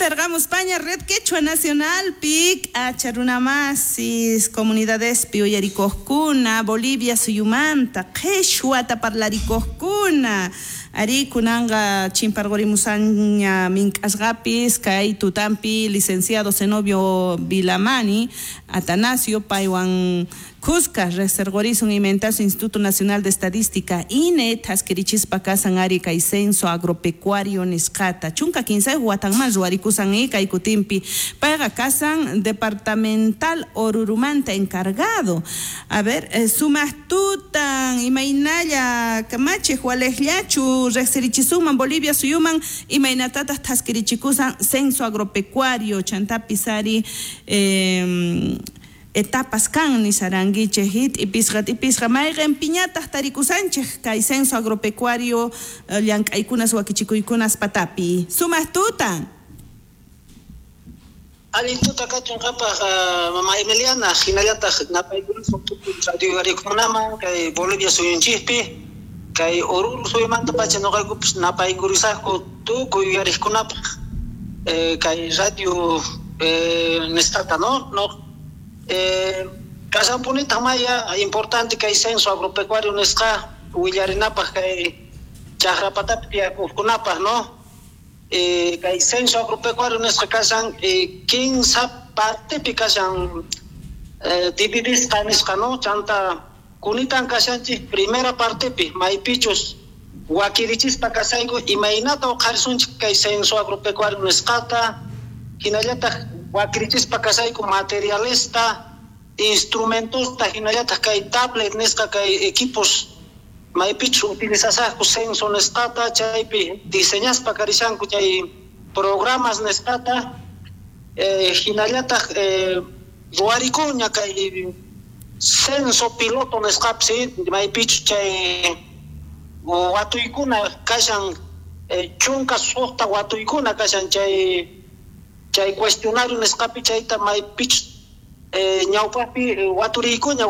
Kutirqamuspaña Red Quechua Nacionalpi k'acha runamasis comunidadespi uyarikuqkuna, Bolivia suyumanta qhishwata parlarikuqkuna. Arí, kunanqa chimparqurimusaña mink'asqapis kay tutampi licenciado Zenobio Vilamani Atanasio paywan kuska riqsirqurisun imaynatachu Instituto Nacional de Estadística INE thaskirichispa kasan ari kay censo agropecuario nisqata 13 watanman ruwarikusan kay kutinpi payqa kasan departamental Orurumanta encargado. A ver, sumaq tutan, imaynalla kamachiq, waliqllachu riqsirichisuman Bolivia suyuman imaynatataq thaskirichikusan censo agropecuario chantapis ari etapas kan nisarankichik t'ipisqa t'ipisqa mayqin piñataq tarikusanchik kay censo agropecuario llank'aykunas wakichikuykunas patapi. Sumaq tutan. Allin tuta kachun qhapaq, mama Emiliana, hinallataq napaykunasun tukuy radio uyarikunaman kay Bolivia suyunchikpi, kay Oruro suyumanta pacha nuqaykupis napaykurisaqku tukuy uyariqkunapaq kay radio nisqata, no? No, kasanpunitaq maya importante kay censo agropecuario nisqa willarinapaq kay chaqrapatapi tiyakuqkunapaq, no? Kay censo agropecuario nisqa kasan 15 partepi kashan dividisqa nisqa, no? Chanta kunitan kashanchik primera partepi maypichus wakirichispa kasayku imaynata uqharisunchik kay censo agropecuario nisqata, hinallataq wakirichispa kasayku materialesta, instrumentosta, hinallataq kay tablet nisqa kay equipos maypichus utilizasaqku censo nisqata, chaypi diseñaspa karishanku chay programas nisqata, hinallataq ruwarikuña kay censo piloto nisqapis, maypichus chay watuykuna kashan, 16 watuykuna kashan chay cuestionario nisqapi chayta maypichus ñawpaqpi waturiykuña.